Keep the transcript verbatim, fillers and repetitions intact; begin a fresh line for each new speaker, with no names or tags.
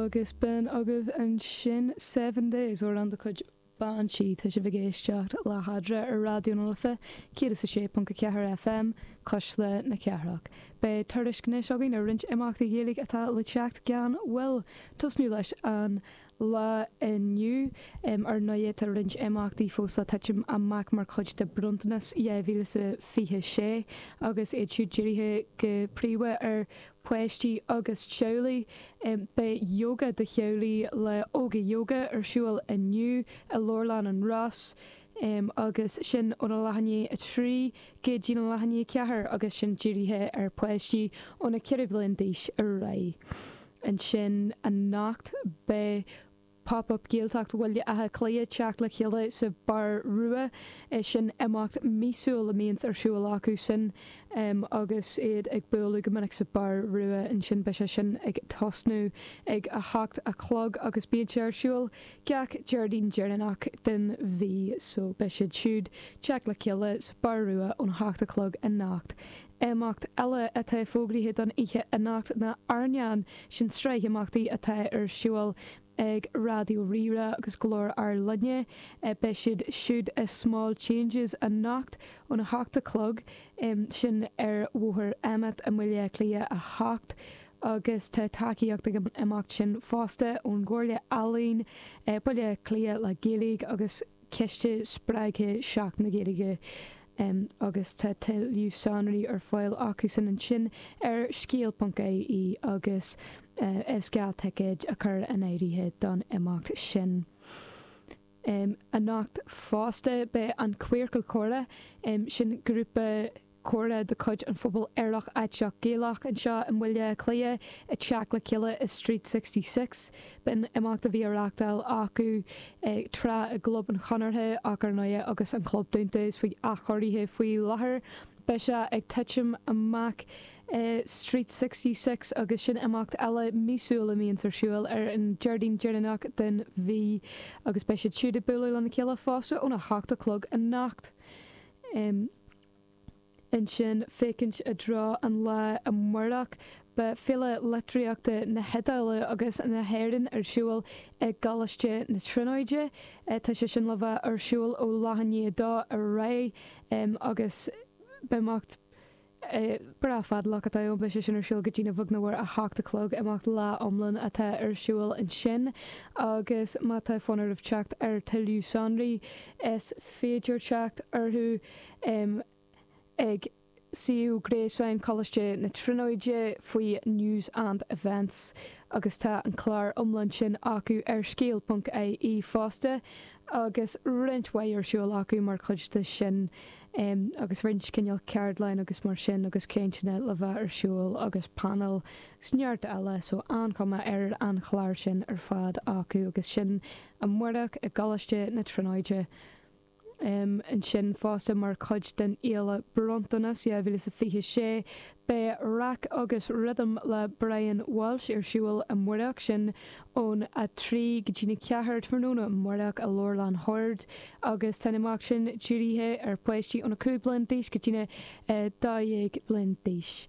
Agus b'in agaibh ansin Seven Days, amhrán de chuid Banshee. Tá sibh ag éisteacht le hEadra ar Raidió na Life céad is a sé ponc a ceathair FM, Cuisle na Cathrach. Beidh tuairisc anois againn ar roinnt imeachtaí Gaeilge atá le teacht gan mhoill. Tosnú leis an lá inniu. Ar ndóigh tá roinnt imeachtaí fós le titim amach mar chuid de Bronntanas dhá mhíle is a fiche sé agus iad siúd dírithe go príomha ar pháistí agus teaghlaigh. Beidh Yoga do Theaghlaigh le Óga Yoga ar siúl inniu i Leabharlann an Ros agus sin óna leath i ndiaidh a trí go dtí a leath i ndiaidh a ceathair agus sin dírithe ar pháistí óna ceithre bliana d'aois ar aghaidh. Ansin anocht beidh Pop Up Gaeltacht Bhaile Átha Cliath teacht le chéile sa Bar Rua. Sin imeacht míosúil a mbíonns ar siúl acu sin agus iad ag bualadh go minic sa Bar Rua ansin. Beidh sé sin ag tosnú ag a hocht a chlog agus bíonn sé ar siúl gach Déardaoin deireanach den mhí so beidh siad siúd teacht le chéile sa Bar Rua ón hocht a chlog anocht. Imeacht eile atá fógraithe don oíche anocht ná Airneán, sin sraith imeachtaí atá ar siúl ag Raidió Rí-Rá agus Glór Ár Linne. Beidh siad siúd i Small Changes anocht óna hocht a chlog, sin ar Bhóthar Emmet i mBaile Átha Cliath a hocht, agus tá tacaíocht ag an imeacht sin fosta ón gComhairle Ealaíon, Baile Átha Cliath le Gaeilge agus Ciste Spreagtha Seachtain na Gaeilge. Agus tá tuilleadh sonraí ar fáil acusan ansin ar scéal ponc ie agus is gá ticéid a chur in áirithe don imeacht sin. Anocht fosta beidh an Queercal Comhrá, sin grúpa comhrá de chuid an phobail Aerach Aiteach Gaelach anseo i mBaile Átha Cliath, ag teacht le chéile i Street Sixty Six. B'in imeacht a bhí á reáchtáil acu tráth i gClub an Chonartha ach ar ndóigh agus an club dúnta is faoi athchóirithe faoi láthair beidh sé ag titim amach i Street Sixty Six agus sin imeacht eile míosúil a mbíonns ar siúl ar an Déardaoin deireanach den mhí agus beidh siad siúd ag bualadh lena chéile fosta óna hocht a chlog anocht. Ansin, féachaint i dtreo an lae amárach, beidh Féile Litríochta na hIodáile agus na hÉireann ar siúl i gColáiste na Tríonóide. Tá sé sin le bheith ar siúl ó leath i ndiaidh a dó ar aghaidh agus beidh imeacht breá fadálach atá ann. Beidh sé sin ar siúl go dtí beag nó mór a hocht a chlog, imeacht lá iomlán atá ar siúl ansin agus má tá fonn oraibh teacht ar tuilleadh sonraí, is féidir teacht orthu ag suíomh gréasáin Choláiste na Tríonóide faoi News and Events agus tá an clár iomlán sin acu ar scéal ponc ie fosta agus roinnt mhaith ar siúl acu mar chuid de sin agus roinnt cineál ceardlann agus mar sin agus cainteanna le bheith ar siúl agus painéil agus neart eile so an-chuma ar an chlár sin ar fad acu agus sin amárach i gColáiste na Tríonóide. Ansin fosta mar chuid den Fhéile Bronntanas dhá mhíle is a fiche sé, beidh Raic agus Rhythm le Brian Walsh ar siúl amárach, sin ón a trí go dtí a ceathair tráthnóna amárach i Leabharlann Shoird agus tá an imeacht sin dírithe ar pháistí óna cúig bliana d'aois go dtí na dó dhéag bliain d'aois.